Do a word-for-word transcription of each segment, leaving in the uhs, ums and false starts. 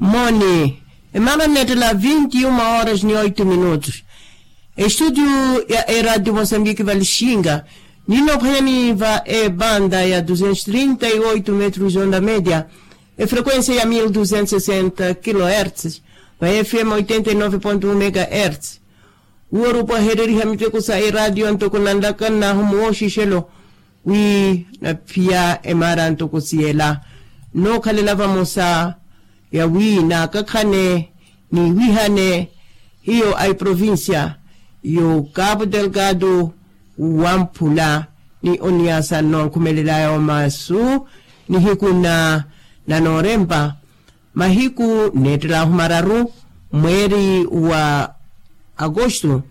Moni, emana nettela vinti uma horas ni oitu minutos. Estudio ya eradio mosambiki valixinga, ninophwanyani va ebanda ya duzentos trinta e oitu metros onda media, efrequencia ya mil duzentos sesenta kilohertz, va fm oitenta e nove ponto um megahertz. Uwo rupwahereriha miteko sa eradio ntoko nanlakannahu muwoxixelo, wi naphiya emara ntoko siyela, nokhalela vamosa yawi nakakhane niwihane hiyo a iprovincia yo cabo delgado, wamphula ni oniasa nonkhumelelaya omasu nihiku na nanorempa, mahiku neettelahu mararu mweeri wa agosto,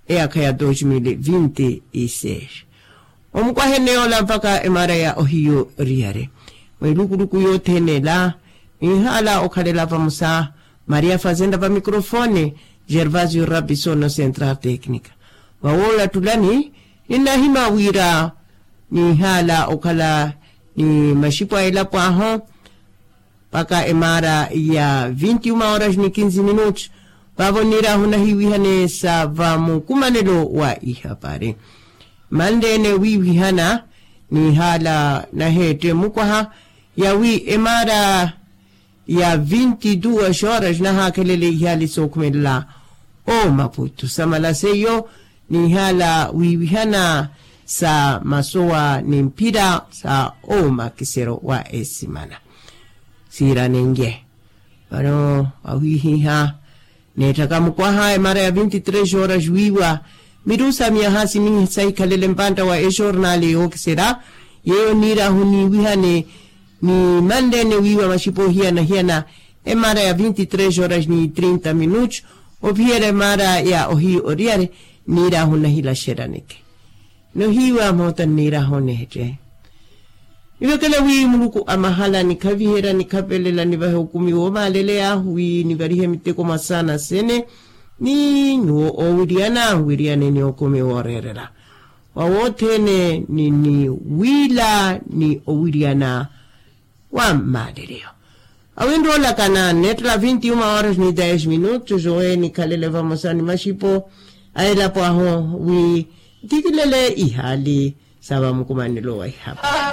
eyaakha ya dos mil vinti e seis. Omukwahe neyoola mpakha emara ya ohiyo riyari mwilukuluku yothene ela, ninhaala okhalela vamosa maria fazenda va microfone, gervasio rabisono central tecnica. Vawoola ttulani, ninnahima wira ninhaala okhala ni maxipo a elapo ahu mpakha emara ya vinti uma horas ni kinzi minutos. Vavo nirahu nahiwihane sa va mukumanelo wa ihapari. Manlene wiwihana nihala nahette mukwaha yawi emara ya vinti duas horas nahakhelele ihali sokhumelela o maputu samala seiyo nihala wiwihana sa masowa ni mphira sa omakisero wa esimana. Siiranenye vano awihiha nettaka mukwaha emara ya vinti tres horas wiiwa mirusa miyaha simihi sahikhalele mpantta wa exornale yookisera yeyo niirahu niiwihane ni manlene wiiwa maxipo hiyana hiyana. Emara ya vinti tres horas ni trinta minutos ophiyera emara ya ohiyo oriyari niirahu nahilaxeraneke. Nohiiwa moota nniirahu nehette. Nivekele wi muluku a mahala nikhaviherya nikhapelela nivahe okumi woomaaleleya wi nivarihe miteko mwa saana sene ni nyuwo oowiriyana wiriyane ni okumi wooreerela wa wothene ni ni wiila ni owiriyana wa mmaaleleyo. Awinroolaka nannettela vinti uma horas ni dez minutos owe nikhalele vamosa ni maxipo a elapo ahu wi ntikilele ihaali sa vamukumanelo wa ihapa.